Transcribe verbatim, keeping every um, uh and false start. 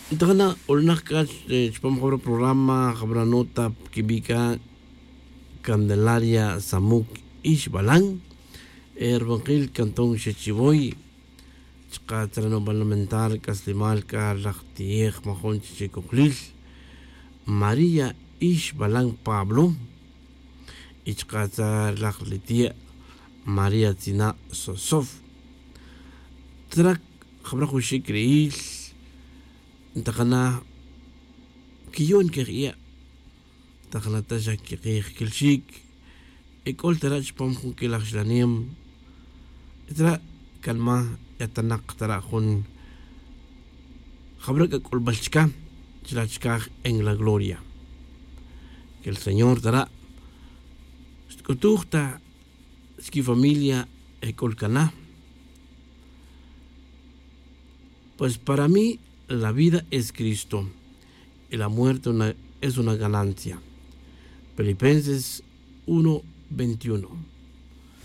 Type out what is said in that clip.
Ntajana' ulanak c'a chupam jabra programa jabra nota quibi' c'a candelaria samuc ixbalan. Erbanquil cantón xechivoy chka' tzara' nubal lamentar c'aslimal c'a laj ti'ej majun chichicojlil maría ixbalan pablo. Y chka' tzara' laj li ti' maría tzina' sosof. Tzara' jabra jun xic' ri'il ntajana' quiyon quej iya'. Ntajana' ta xa quikij quilxic ec'ol tara' chupam jun quilaj xlanem. Tara' canma' yatanak tara' jun jabra c'a c'ulbal chca chila' chcaj en la gloria. Que el señor tara' xtc'utuj ta squifamilia ec'ul cana. Pues para mí la vida es cristo y la muerte es una ganancia. Filipenses uno veintiuno.